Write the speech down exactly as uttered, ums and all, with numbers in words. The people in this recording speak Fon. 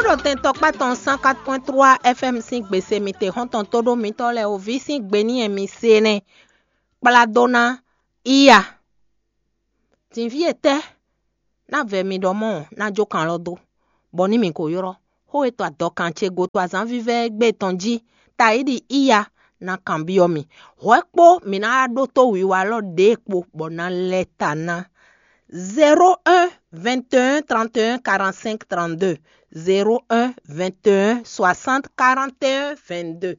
Ɖo tɛn tɔkpá tɔn cent quatre point trois F M sín gbèsè mi te xɔ́ntɔn tóɖó mitɔ́ lɛ́ɛ o, vǐ sín gbe ní e mi se nɛ́ kplá dó ná iya. Dǐnví etɛ́ ná vɛ mi ɖɔ mɔ̌ ná jó kan lɔ dó, bɔ ní mi ko ylɔ́ xó e to adɔkan ce go to azǎn vívɛ́ e gbe tɔn jí, tayiɖi iya ná kanbyɔ́ mi. Hwɛ̌ kpó mi ná ɖótó wiwa lɔ ɖě kpo bɔ ná lɛ́ ta ná. Zéro un, vingt et un, trente et un, quarante-cinq, trente-deux. Zéro un, vingt et un, soixante, quarante et un, vingt-deux.